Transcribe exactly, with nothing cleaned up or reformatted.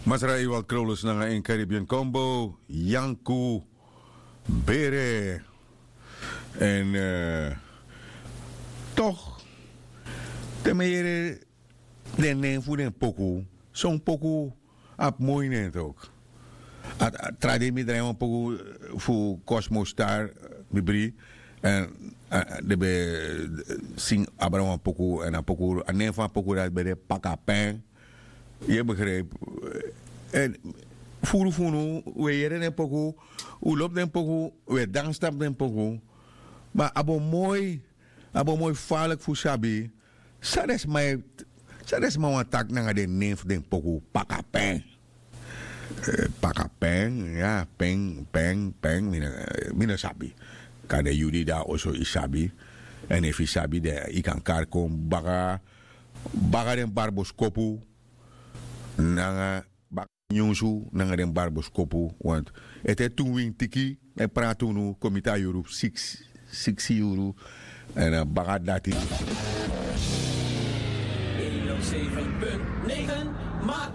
Masra Ewald Krolus nanga en Caribbean Combo, Yanku Bere. En eh, toch, te mi yere den nen fu den poku, son poku abi moi nen toch. A tra dei mi drai wan poku fu Cosmo Star, mi bri. En den ben sing abra wan poku, en a poku, a nen fu a poku dati ben de Pakapen. Yu e begrijp? En furu fu unu, un e yere den poku, un lobi den poku, un e dansi tapu den poku. Ma a bo moi, a bo moi faliki fu sabi san den sma e, san den sma wani taki nanga den nen fu den poku. Pakapen. Pakapen, ya, pen pen pen, mi no sabi. Kan den yu di de na oso yu sabi. Èn efu yu sabi den yu kan kari kon baka, baka den barboskopu nanga baka nyunsu nanga den barboskopu. Want ete tu wintiki e prati unu kon miti a yuru siksi, siksi yuru. Èn a baka dati. Een nul zeven punt negen, maar